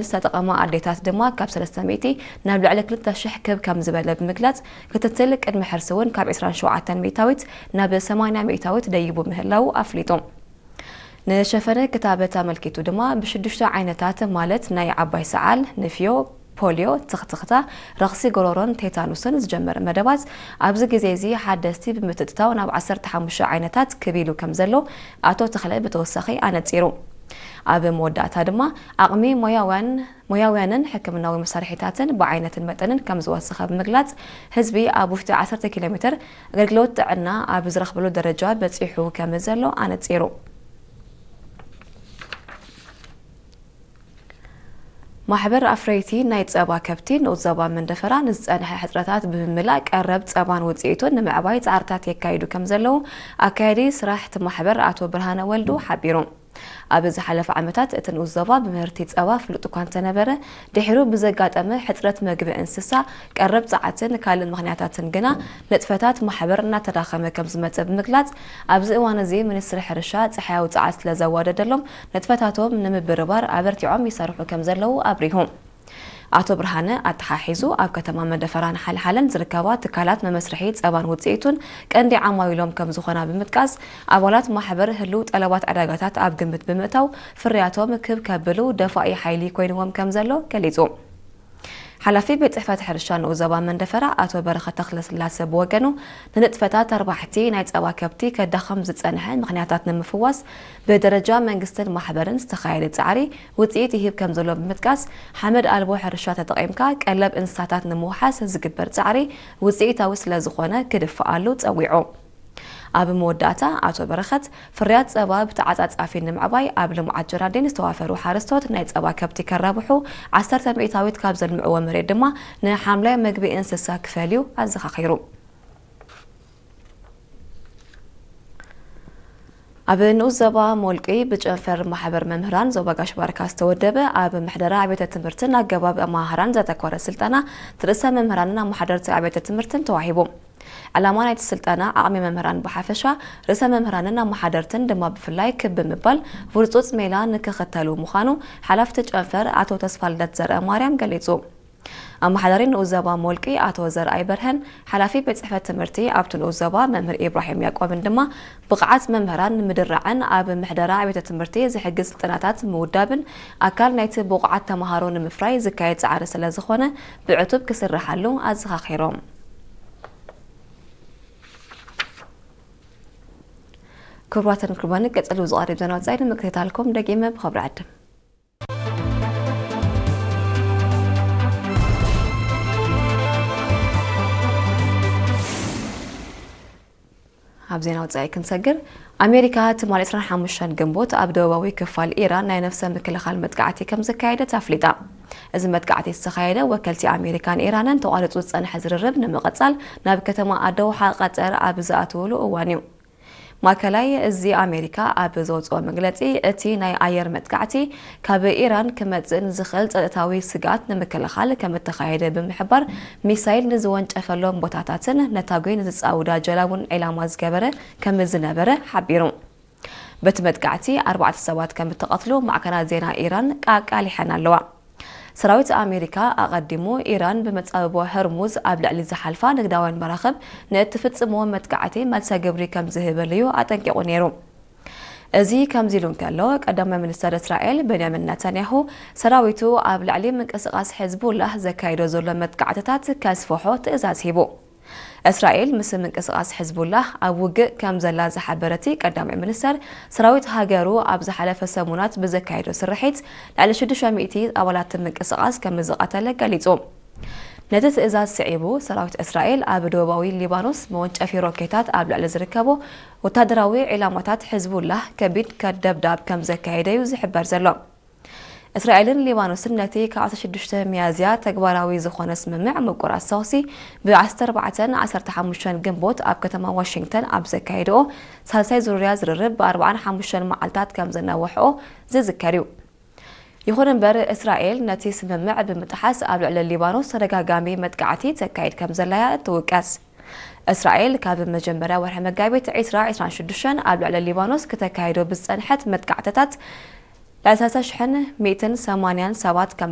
ዝተጠቐማ ኣዴታት ድማ ካብ ሰለስተ ሚእቲ ናብ ልዕሊ ክልተ ሽሕ ክብ ከም ዝበለ ብምግላጽ፣ ክትትል ቅድሚ ሕርሲ እውን ካብ ዕስራን ሸውዓተን ሚእታዊት ናብ ሰማንያ ሚእታዊት ደይቡ ምህላው ኣፍሊጡ። ንሸፈነ ክታበት ኣመልኪቱ ድማ ብሽዱሽተ ዓይነታት ማለት ናይ ዓባይ ሰዓል፣ ንፍዮ፣ ፖልዮ፣ ትኽትኽታ፣ ረኽሲ ጎሮሮን ቴታኑስን ዝጀመረ መደባት ኣብዚ ግዜ እዚ ሓደስቲ ብምትእትታው ናብ ዓሰርተ ሓሙሽተ ዓይነታት ክብ ኢሉ ከም ዘሎ ኣቶ ተኽለ ብተወሳኺ ኣነጺሩ። ኣብ መወዳእታ ድማ ዓቕሚ ሞያውያን ሞያውያንን ሕክምናዊ መሳርሒታትን ብዓይነትን መጠንን ከም ዝወሰኸ ብምግላጽ፣ ህዝቢ ኣብ ውሽጢ ዓሰርተ ኪሎ ሜትር ኣገልግሎት ጥዕና ኣብ ዝረኽበሉ ደረጃ በጺሑ ከም ዘሎ ኣነጺሩ። ማሕበር ኣፍረይቲ ናይ ጸባ ከብቲ ንኡስ ዞባ መንደፈራ ንዝጸንሐ ሕጽረታት ብምምላእ ቀረብ ጸባን ውጽኢቱን ንምዕባይ ጻዕርታት የካይዱ ከም ዘለዉ ኣካያዲ ስራሕ እቲ ማሕበር ኣቶ ብርሃነ ወልዱ ሓቢሩ። ኣብ ዝሓለፈ ዓመታት እቲ ንኡስ ዞባ ብምህርቲ ጸባ ፍሉጥ እኳ እንተነበረ፣ ድሒሩ ብዘጋጠመ ሕጽረት መግቢ እንስሳ፣ ቀረብ ጸዓትን ካልእ ምኽንያታትን ግና ንጥፈታት ማሕበር እናተዳኸመ ከም ዝመጸ ብምግላጽ፣ ኣብዚ እዋን እዚ ሚኒስትሪ ሕርሻ ጸሓያዊ ጸዓት ስለ ዘዋደደሎም፣ ንጥፈታቶም ንምብርባር ኣበርቲዖም ይሰርሑ ከም ዘለዉ ኣብሪሁ። ኣቶ ብርሃነ ኣተሓሒዙ፣ ኣብ ከተማ መደፈራን ሓልሓለን ዝርከባ ትካላት መመስርሒ ጸባን ውጽኢቱን ቀንዲ ዓማዊሎም ከም ዝኾና ብምጥቃስ፣ ኣባላት ማሕበር ህልው ጠለባት ዕዳጋታት ኣብ ግምት ብምእታው ፍርያቶም ክብ ከብሉ ደፋኢ ሓይሊ ኮይንዎም ከም ዘሎ ገሊጹ። ሓላፊ ቤት ጽሕፈት ሕርሻ ንኡስ ዞባ መንደፈራ ኣቶ በረኸት ተኽለስላሰ ብወገኑ፣ ንንጥፈታት ኣርባሕቲ ናይ ጸባ ከብቲ ከዳኸም ዝጸንሐ ምኽንያታት ንምፍዋስ ብደረጃ መንግስትን ማሕበርን ዝተኻየደ ጻዕሪ ውጽኢት ይህብ ከም ዘሎ ብምጥቃስ፣ ሓመድ ኣልቦ ሕርሻ ተጠቒምካ ቀለብ እንስሳታት ንምውሓስ ዝግበር ጻዕሪ ውጽኢታዊ ስለ ዝኾነ ክድፍኣሉ ጸዊዑ። ኣብ መወዳእታ ኣቶ በረኸት፣ ፍርያት ጸባ ብተዓጻጻፊ ንምዕባይ ኣብ ልምዓት ጀራዲን ዝተዋፈሩ ሓረስቶት ናይ ጸባ ከብቲ ከራብሑ፣ ዓሰርተ ሚእታዊት ካብ ዘልምዕዎ መሬት ድማ ንሓምላይ መግቢ እንስሳ ክፈልዩ ኣዘኻኺሩ። ኣብ ንኡስ ዞባ ሞልቂ ብጨንፈር ማሕበር መምህራን ዞባ ጋሽ ባርካ ዝተወደበ ኣብ ምሕደራ ኣብያተ ትምህርትን ኣገባብ ኣመሃህራን ዘተኮረ ስልጠና ንርእሰ መምህራንን ኣመሓደርቲ ኣብያተ ትምህርትን ተዋሂቡ። ዕላማ ናይቲ ስልጠና ዓቕሚ መምህራን ብሓፈሻ፣ ርእሰ መምህራንን ኣመሓደርትን ድማ ብፍላይ ክብ ብምባል ውርጹጽ ሜላ ንክኽተሉ ምዃኑ ሓላፍቲ ጨንፈር ኣቶ ተስፋልደት ዘርአ ማርያም ገሊጹ። ኣመሓዳሪ ንኡስ ዞባ ሞልቂ ኣቶ ዘርኣይ በርሀን ሓላፊ ቤት ጽሕፈት ትምህርቲ ኣብቲ ንኡስ ዞባ መምህር ኢብራሂም ያዕቆብን ድማ ብቕዓት መምህራን ንምድራዕን ኣብ ምሕደራ ቤተ ትምህርቲ ዝሕግዝ ስልጠናታት ምውዳብን ኣካል ናይቲ ብቑዓት ተምሃሮ ንምፍራይ ዝካየድ ጻዕሪ ስለ ዝኾነ ብዕቱብ ክስርሓሉ ኣዘኻኺሮም። ክቡራትን ክቡራን፣ ቀጸሉ ዝቐርብ ዜና ወጻኢ ንምክትታልኩም ደጊመ ብኸብሪ ዕድም። ኣብ ዜና ወጻኢ ክንሰግር፣ ኣሜሪካ ትማሊ ዕስራን ሓሙሽተን ግንቦት ኣብ ደቡባዊ ክፋል ኢራን ናይ ነፍሰ ምክልኻል መጥቃዕቲ ከም ዘካየደት ኣፍሊጣ። እዚ መጥቃዕቲ ዝተኻየደ ወከልቲ ኣሜሪካን ኢራንን ተቋሪጹ ዝጸንሐ ዝርርብ ንምቕጻል ናብ ከተማ ኣደውሓ ቀጠር ኣብ ዝኣትውሉ እዋን እዩ። ማእከላይ እዚ ኣሜሪካ ኣብ ዘውጽኦ መግለጺ፣ እቲ ናይ ኣየር መጥቃዕቲ ካብ ኢራን ክመጽእ ንዝኽእል ጸጥታዊ ስግኣት ንምክልኻል ከም እተኻየደ ብምሕባር፣ ሚሳይል ንዝወንጨፈሎም ቦታታትን ነታጒ ንዝጻውዳ ጀላቡን ዒላማ ዝገበረ ከም ዝነበረ ሓቢሩ። በቲ መጥቃዕቲ ኣርባዕተ ሰባት ከም እተቐትሉ ማዕከናት ዜና ኢራን ኣቃሊሐን ኣለዋ። ሰራዊት ኣሜሪካ ኣቐዲሙ ኢራን ብመጻብቦ ሆርሙዝ ኣብ ልዕሊ ዝሓልፋ ንግዳውያን መራኽብ ንእትፍጽምዎ መጥቃዕቲ መልሰ ግብሪ ከም ዝህበሉ እዩ ኣጠንቂቑ ነይሩ። እዚ ከምዚ ኢሉ እንከሎ፣ ቀዳማይ ሚኒስተር እስራኤል ቤንያሚን ነታንያሁ ሰራዊቱ ኣብ ልዕሊ ምንቅስቓስ ሕዝቡላህ ዘካይዶ ዘሎ መጥቃዕትታት ከስፍሖ ትእዛዝ ሂቡ። እስራኤል ምስ ምንቅስቓስ ሕዝቡላህ ኣብ ውግእ ከም ዘላ ዝሓበረ እቲ ቀዳማይ ሚኒስተር፣ ሰራዊት ሃገሩ ኣብ ዝሓለፈ ሰሙናት ብዘካየዶ ስርሒት ልዕሊ ሽዱሽተ ሚእቲ ኣባላት ምንቅስቓስ ከም ዝቐተለ ገሊጹ። ነቲ ትእዛዝ ስዒቡ፣ ሰራዊት እስራኤል ኣብ ደቡባዊ ሊባኖስ መወንጨፊ ሮኬታት ኣብ ልዕሊ ዝርከቡ ወታደራዊ ዒላማታት ሕዝቡላህ ከቢድ ከ-፣ ደብዳብ ከም ዘካየደ እዩ ዝሕበር ዘሎ። እስራኤልን ሊባኖስን ነቲ ካብ ዓሰርተ ሽዱሽተ ሚያዝያ ተግባራዊ ዝኾነ ስምምዕ ምቁራጽ ተኹሲ ብ ዓሰርተ ኣርባዕተን ዓሰርተ ሓሙሽተን ግንቦት ኣብ ከተማ ዋሽንግተን ኣብ ዘካየድኦ ሳልሳይ ዙርያ ዝርርብ ብኣርባዓን ሓሙሽተን መዓልታት ከም ዘናውሕኦ ዝዝከር እዩ። ይኹን እምበር፣ እስራኤል ነቲ ስምምዕ ብምጥሓስ ኣብ ልዕሊ ሊባኖስ ተደጋጋሚ መጥቃዕቲ ተካይድ ከም ዘላ እያ እትውቀስ። እስራኤል ካብ መጀመርያ ወርሒ መጋቢት ዕስራ ዕስራን ሽዱሽተን ኣብ ልዕሊ ሊባኖስ ክተካይዶ ብዝጸንሐት መጥቃዕትታት ልዕሊ ሰለስተ ሽሕን ሚእትን ሰማንያን ሰባት ከም